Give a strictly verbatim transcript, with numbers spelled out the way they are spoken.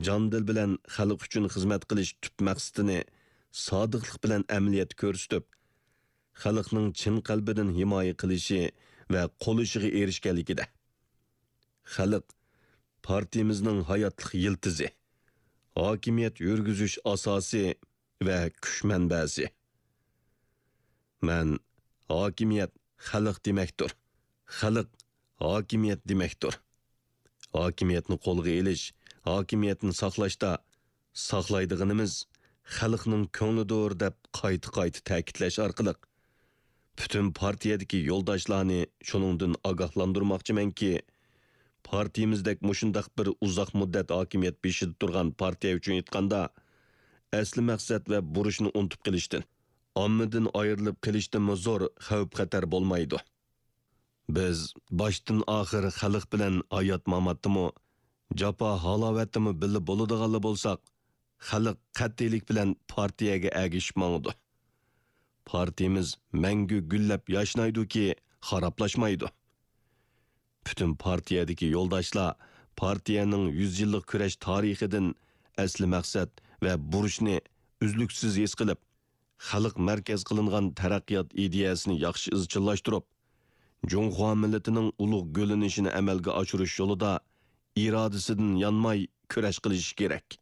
جان-دىل بىلەن خەلق ئۈچۈن خىزمەت قىلىش تۈپ مەقسىتىنى سادىقلىق بىلەن ئەمەلىيەتتە كۆرسىتىپ، خەلقنىڭ چىن قەلبىدىن ھىمايە قىلىشى ۋە قوللىشىغا ئېرىشكەنلىكىدە، خەلق پارتىيىمىزنىڭ ھاياتلىق يىلتىزى، ھاكىمىيەت يۈرگۈزۈش ئاساسى ۋە كۈچ مەنبەسى. مەن ھاكىمىيەت خەلق دېمەكتۇر، خەلق ھاكىمىيەت دېمەكتۇر. ھاكىمىيەتنى قولغا ئېلىش، ھاكىمىيەتنى ساقلاشتا ساقلايدىغىنىمىز خەلقنىڭ كۆڭلىدۇر دەپ قايتا-قايتا تەكىتلەش ئارقىلىق، پۈتۈن پارتىيەدىكى يولداشلارنى شۇنىڭدىن ئاگاھلاندۇرماقچىمەنكى، پارتىيىمىزدەك مۇشۇنداق بىر ئۇزاق مۇددەت ھاكىمىيەت بېشىدا تۇرغان پارتىيە ئۈچۈن ئېيتقاندا، ئەسلى مەقسەت ۋە بۇرچنى ئۇنتۇپ قېلىشتىن، ئاممىدىن ئايرىلىپ قېلىشتىنمۇ زور خەۋپ-خەتەر بولمايدۇ. بىز باشتىن-ئاخىر خەلق بىلەن ھايات-ماماتتىمۇ، جاپا-ھالاۋەتتىمۇ بىللە بولىدىغانلا بولساق، خەلق قەتئىيلىك بىلەن پارتىيەگە ئەگىشىپ ماڭىدۇ. پارتىيىمىز مەڭگۈ گۈللەپ ياشنايدۇكى، خارابلاشمايدۇ. پۈتۈن پارتىيەدىكى يولداشلار پارتىيەنىڭ يۈز يىللىق كۈرەش تارىخىدىن ئەسلى مەقسەت ۋە بۇرچنى ئۈزلۈكسىز ھېس قىلىپ، خەلق مەركەز قىلىنغان تەرەققىيات ئىدىيەسىنى ياخشى ئىزچىللاشتۇرۇپ، جۇڭخۇا مىللىتىنىڭ ئۇلۇغ گۈللىنىشىنى ئەمەلگە ئاشۇرۇش يولىدا ئىرادىسىدىن يانماي كۈرەش قىلىشى كېرەك.